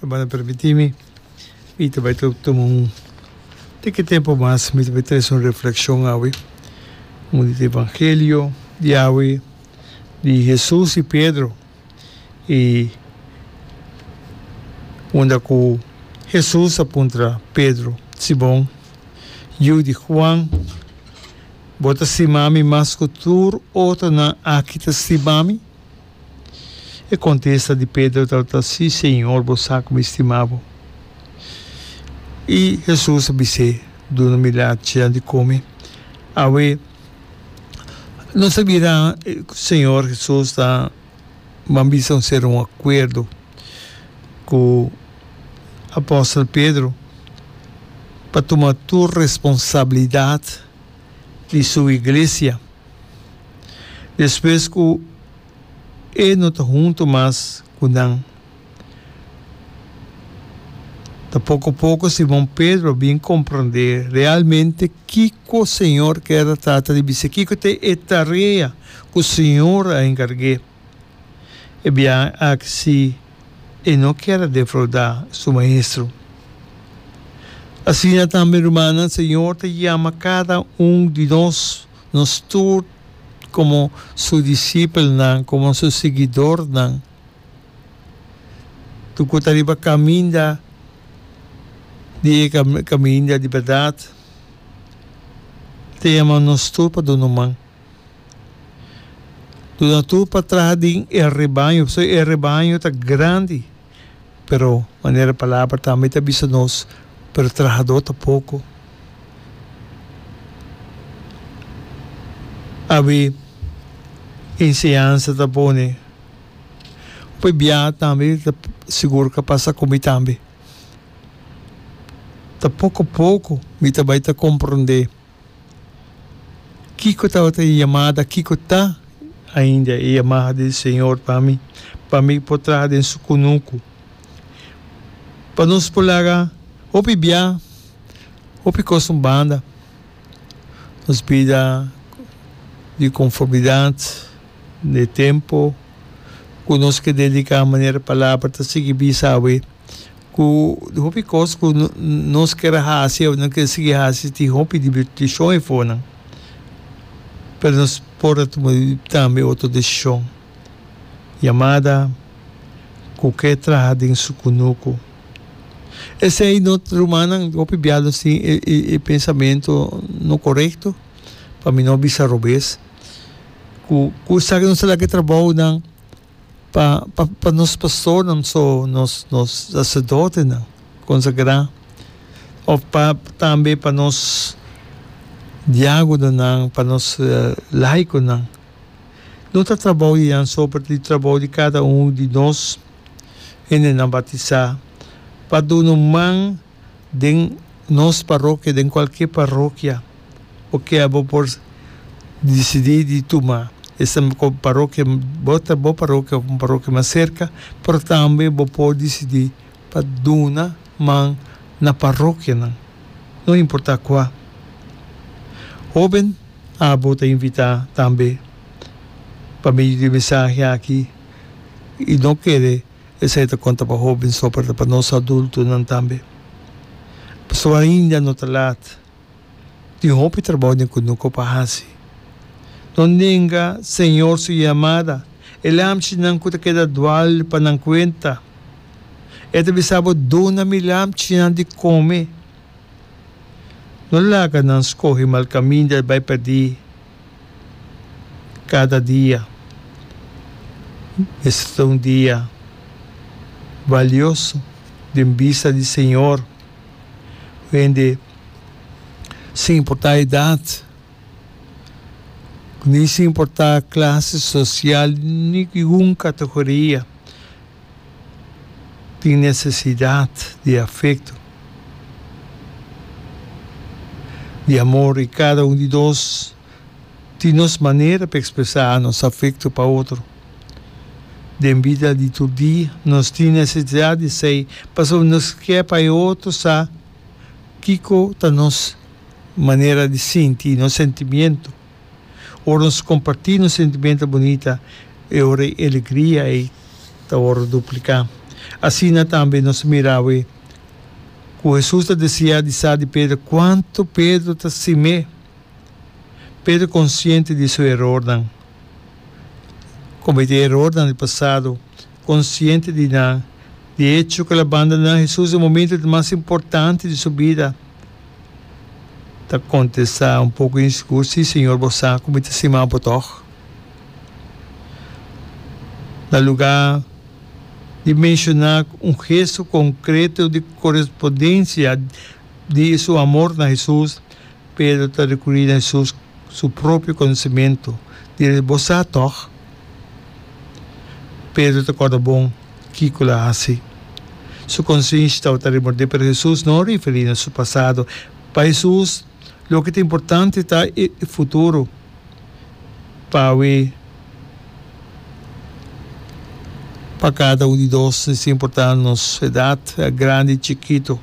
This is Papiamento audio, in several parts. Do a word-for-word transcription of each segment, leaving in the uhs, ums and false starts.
Hermano, permití mi, mi ta bai tuma un tiki tempu mas, mi ta bai trese un reflekshon awe, un di evangelio di awe, di Hesus i Pedro, i unda ku Hesus a puntra Pedro, Simon, yu di Juan, bo ta stima mi mas ku tur otronan aki ta stima mi? E kontesta di Pedro tabata, Sí, Señor, bo sa ku mi stima bo. I Hesus a bis'é, Duna mi lachinan di kome. Awe, nos a mira ku Señor Hesus ta ban bisa un sera un akuerdo ku apòstel Pedro pa tuma tur responsabilidat di su iglesia. Despues ku e no ta huntu mas ku nan. Ta poko poko Simon Pedro a bin komprondé realmente kiko Señor kier a trata di bisa, kiko ta e tarea ku Señor a enkarg'é. E biaha aki si e no kier a defraudá su Maestro. Asina tambe, rumannan, Señor ta yama kada un di nos, nos tur komo su disipelnan, komo su siguidornan. Tur ku ta riba kaminda di e kaminda di bèrdat, ta yama nos tur pa duna un man. Duna tur pa traha den e rebaño, pasobra e rebaño ta grandi, pero manera e palabra tambe ta bisa nos, pero trahadó ta poko. Abi enseñansa ta pone hopi bia tambe ta sigur ka pasa ku mi tambe. Ta poko poko mi ta bai ta komprondé kiko tabata e yamada, kiko ta ainda e yamada di Señor pa mi, pa mi por traha den su kunuku. Pa nos por laga hopi bia. Hopi kos un banda. Nos bida di konformidat n'e tempu ku nos ke dediká manera palabra ta sigui bisa awe ku hopi kos ku nos ker a hasi òf nos ke sigui hasi tin hopi dibertishon efonan pero nos por a tuma tambe otro desishon. Yamada ku ke traha den su kunuku. Esei no rumannan hopi bia nos tin e e pensamentu no korekto pa mi no bisa robes ku ku esaki nos ta laga e trabounan pa pa pa nos pastornan so nos nos saserdotenan konsagrá òf pa tambe pa nos diagononan pa nos laikonan no ta trabou di nan so pero ta di trabou di kada un di nos. Hendenan batisá pa duna un man den nos parokia, den kualke parokia bo ke bo por disidí di tuma esta parokia, bo ta bo parokia òf un parokia mas serka, pero tambe bo por disidí pa duna man na parokianan, no importá kua. Hóben, abo ta invitá tambe pa medio di e mensahe aki. I no kere esei ta konta pa hóben so, pero ta pa nos adultonan tambe. Pasobra ainda no ta lat. Tin hopi trabou den kunuku pa hasi. No nenga Señor su yamada. E lamchinan ku ta keda dual pa nan kuenta. E ta bisa bo, Duna mi lamchinan di kome. No laga nan skohe mal kaminda i bai pèrdí. Kada dia mester ta un dia balioso den bista di Señor. Hende sin importá edat, ni sin importá klase sosial, ni ningun kategoria. Tin nesesidat di afekto, di amor i kada un di nos tin nos manera pa ekspresá nos afekto pa otro. Den bida di tur dia nos tin nesesidat di esei pasobra nos ke pa e otro sa kiko ta nos manera di sinti, nos sentimiento. Ora nos kompartí nos sentimentu bunita, e ora e alegria ei ta wòrdu dupliká. Asina tambe nos ta mira awe ku Hesus ta deseá di sa di Pedro kuantu Pedro ta stim'é. Pedro konsiente di su erornan, kometé erornan di pasado, konsiente di nan, di echo ku el a bandoná Hesus den momento di mas importante di su bida, ta kontestá un poko insigur, Sí, Señor, bo sa ku mi ta stima bo tòg. Na lugá di menshoná un gesto konkreto di korespondensia di su amor na Hesus, Pedro ta rekurí na Hesus su propio konosementu di Bo sa tòg? Pedro ta kòrda bon kiko el a hasi. Su konsiensia tabata remordé, pero Hesus no a referí na su pasado. Pa Hesus, loke ta importante ta e futuro. Pa awe, pa kada un di nos, sin importá nos edat, grandi i chikitu,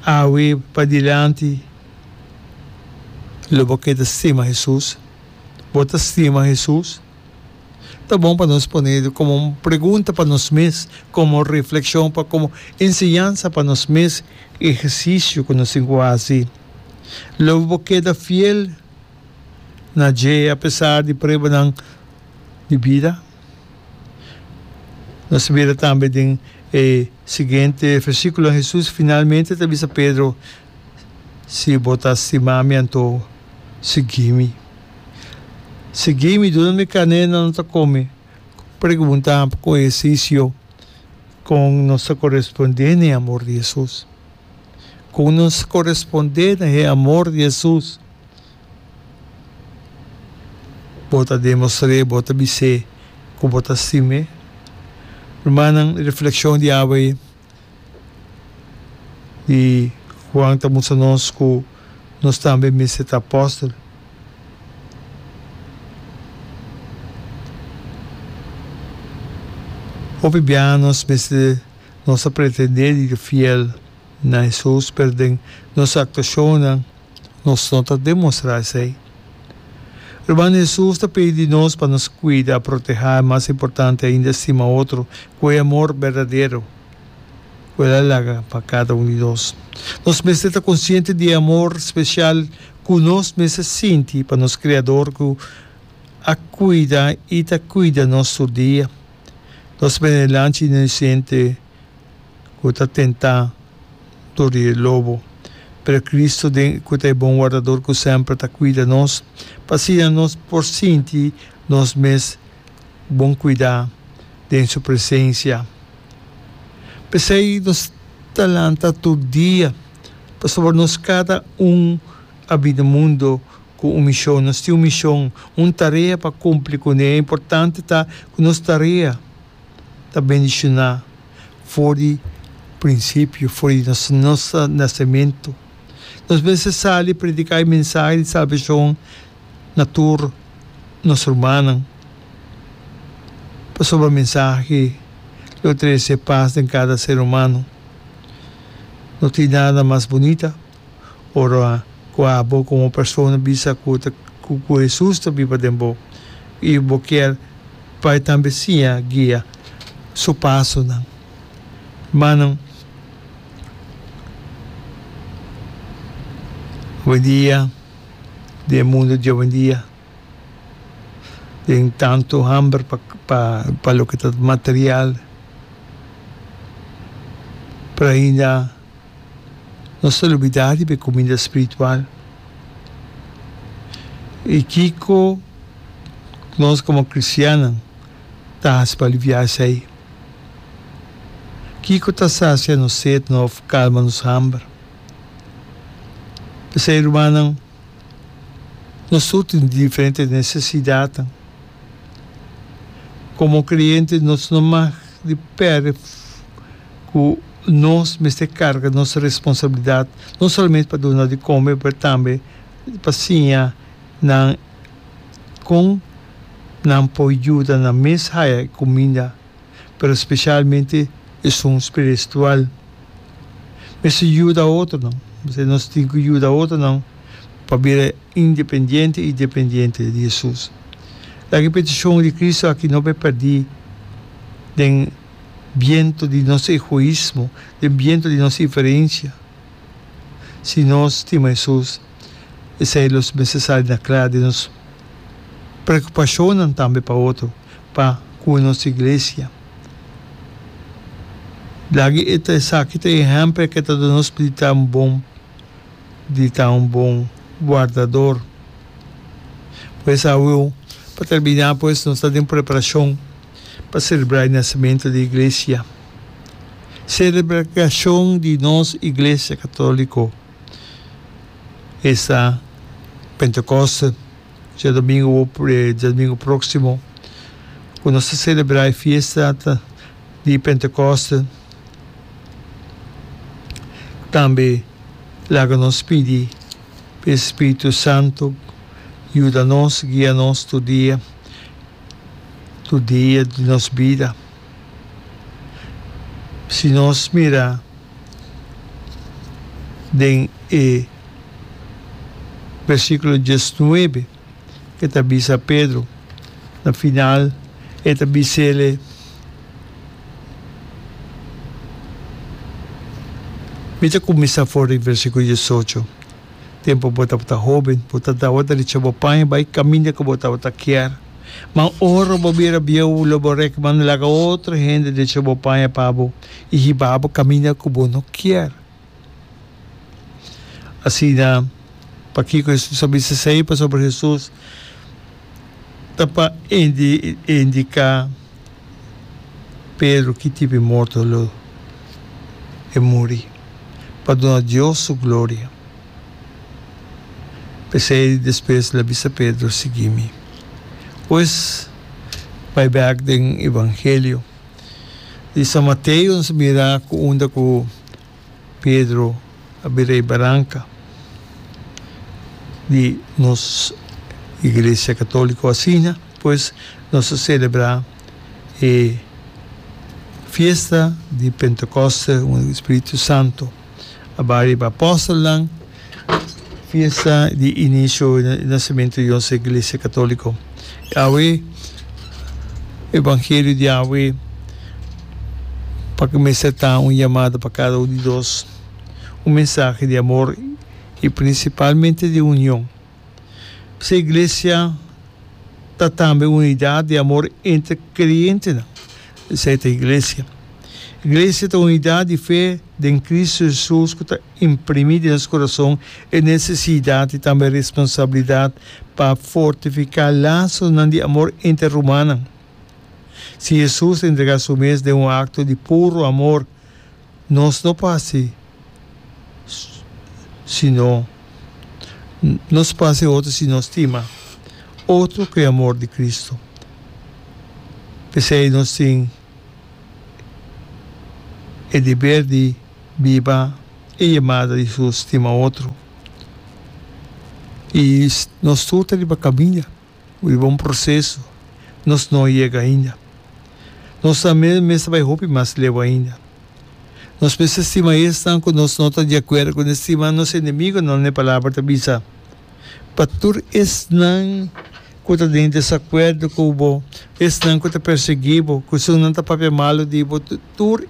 awe padilanti lo bo keda stima Hesus? Bo ta stima Hesus? Ta bon pa nos pone komo un pregunta pa nos mes, komo reflekshon, pa komo enseñansa pa nos mes, ehersisio ku nos tin ku hasi. Lo bo keda fiel na dje apesar di pruebanan di bida? Nos ta mira tambe den e siguiente versíkulonan, Hesus finalmente ta bisa Pedro, Si bo ta stima mi, anto sigui mi. Sigui mi, duna mi karné nan ta kome. Pregunta ku ehersisio, Kon nos ta korespondé na e amor di Hesus? Kon nos ta korespondé na e amor di Hesus? Bo ta demostr'é, bo ta bis'é ku bo ta stim'é? Rumannan, reflekshon di awe di Juan ta mustra nos ku nos tambe mester ta apòstel. Hopi biaha nos mester, nos ta pretendé di ta fiel na Hesus, pero den nos aktuashonnan nos no ta demostrá esei. Ruman, Hesus ta pidi di nos pa nos kuida, protehá i mas importante ainda stima otro ku e amor berdadero ku el a laga pa kada un di nos. Nos mester ta konsiente di e amor spesial ku nos mester sinti pa nos Kreador ku a kuida i ta kuida nos tur dia. Nos bene lanchi inosente ku ta tentá dor di e lobo, pero Cristo den ku ta e bon wardador ku semper ta kuida nos, pa asina nos por sinti nos mes bon kuidá den su presensia. P'esei nos ta lanta tur dia, pasobra nos kada un a bini mundo ku un mishon. Nos tin un mishon, un tarea pa kumpli kuné. E importante ta ku nos tarea ta bendishoná for di prinsipio, for di nos nos nasementu. Nos mester sali prediká e mensahe di salbashon na tur nos rumannan, pasobra mensahe lo trese pas den kada ser humano. No tin nada mas bunita ora ku abo komo persona bisa ku ta ku Hesus ta biba den bo i bo kier pa e tambe siña guia su pasonan. Hermannan, awendia den e mundu di awendia den tantu hamber pa pa loke ta material, pero ainda nos ta lubida riba e kuminda spiritual. I kiko nos komo kristiannan ta hasi pa aliviá esei? Kiko ta sasia nos set òf kalma nos hamber? P'esei, rumannan, nos tur tin diferente nesesidatnan. Komo kreyente nos no mag di pèrdè ku nos mester karga nos responsabilidat, no solamente pa duna di kome, pero tambe pa siña nan kon nan por yuda nan mes haya e kuminda, pero spesialmente esun spiristual. Mester yuda otronan, mester nos tin ku yuda otronan pa bira independiente i dependiente di Hesus. Laga e petishon di Kristu aki no bai pèrdí den biento di nos egoismo, den biento di nos diferencia. Si nos stima Hesus, esei lo mester sali na kla den nos preokupashonnan tambe pa otro, pa ku nos iglesia. Laga e ta esaki ta e ehèmpel ku e ta duna nos di ta un bon di ta un bon wardador. Pues awe, pa terminá pues, nos ta den preparashon pa selebrá e nasementu di iglesia. Selebrashon di nos Iglesia Katóliko esta Pentekoste, djadumingu djadumingu próksimo ku nos ta selebrá e fiesta di Pentekoste. Tambe laga nos pidi pa e Spiritu Santu yuda nos, guia nos tur dia, tur dia di nos bida. Si nos mira den e versíkulo diesnuebe e ta bisa Pedro, na final e ta bis'ele, Mi ta kuminsá for di versíkulo diesocho, Tempu bo tabata hóben, bo ta tabata richa bo paña bai kaminda ku bo tabata kier. Ma ora bo bira bieu, lo bo rek manda laga otro hende drecha bo paña pa bo i hiba bo kaminda ku bo no kier. Asina, pakiko Hesus a bisa esei? Pasobra Hesus ta pa indiká Pedro ki tipo di morto lo e muri, pa duna Dios su gloria. P'esei despues el a bisa Pedro, Sigui mi. Pues, bai bèk den Evangelio di San Mateo nos a mira ku unda ku Pedro a bira e baranka di nos Iglesia Katóliko. Asina pues nos ta selebrá e fiesta di Pentekoste unda Spiritu Santu a bai riba apòstelnan, fiesta di inisio i nasementu di nos Iglesia Katóliko. Awe, Evangelio di awe pa ku mester ta un yamada pa kada un di nos, un mensahe di amor i prinsipalmente di union. P'esei iglesia ta tambe unidat di amor entre kreyentenan. Esei ta iglesia. Iglesia ta unidat di fe den Kristu Hesus ku ta imprimí den nos kurason e nesesidat i tambe responsabilidat pa fortifiká lasonan di amor entre rumannan. Si Hesus a entregá su mes den un akto di puru amor, nos no por hasi sino nos por hasi otro si nos stima otro ku e amor di Kristu. P'esei nos tin e deber di biba e yamada di Hesus, stima otro. I nos tur ta riba kaminda, riba un proseso, nos no a yega ainda. Nos tambe mester bai hopi mas leu ainda. Nos mester stima esnan ku nos no ta di akuerdo kuné, stima nos enemigunan, e Palabra ta bisa. Pa tur esnan ku ta den desakuerdo ku bo, esnan ku ta persiguí bo, ku esunnan ta papia malu di bo, tur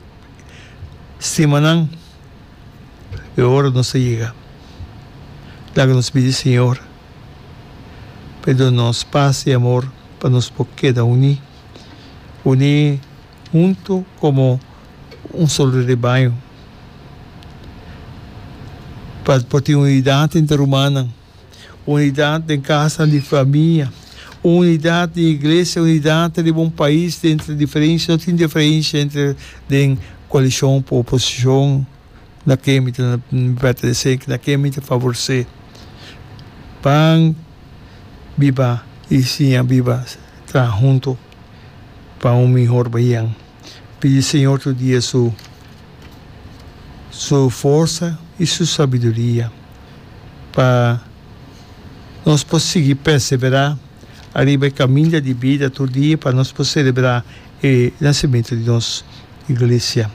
stima nan. E ora nos ta yega. Laga nos pidi Señor pa e duna nos pas i amor pa nos por keda uní, uní huntu komo un solo rebaño, pa por tin unidat entre rumannan, unidat den kasnan di famia, unidat den iglesia, unidat riba un pais entre diferensia, no tin diferensia entre den koalishon ku oposishon. Na ken mi ta pertenesé, na ken mi ta favoresé. Ban biba i siña biba traha huntu pa un mihor bahian. Pidi Señor tur dia su su forsa i su sabiduria pa nos por sigui perseverá ariba e kaminda di bida tur dia pa nos por selebrá e nasementu di nos Iglesia.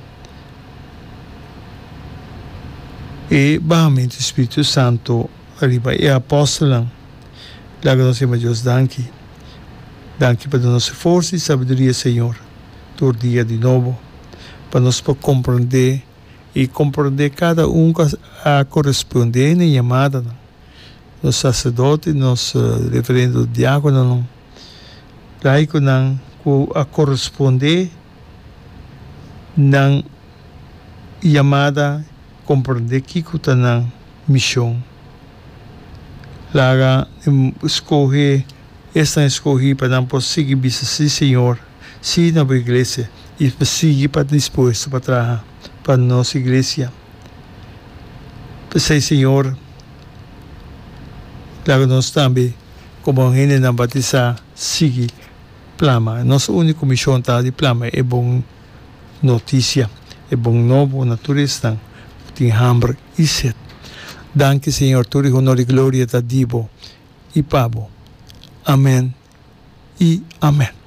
E bahamentu di Spiritu Santu riba e apòstelnan. Laga nos yama Dios danki. Danki pa duna nos e forsa i sabiduria, Señor, tur dia di nobo. Pa nos por komprondé i komprondé kada un ku a korespondé na e yamadanan, nos saserdote, nos reverendo diákononan, laikonan ku a korespondé nan yamada, komprondé kiko ta nan mishon. Laga skohe esnan eskohí pa nan por sigui bisa sí Señor, sí na bo iglesia i pa sigui pa dispuesto pa traha pa nos iglesia. P'esei Señor, laga nos tambe komo hendenan batisá sigui plama. Nos úniko mishon ta di plama e bon notisia, e bon nobo na tur esnan ku tin hamber i set. Danki Señor, tur e honor i gloria ta di bo i pa bo. Amen i amen.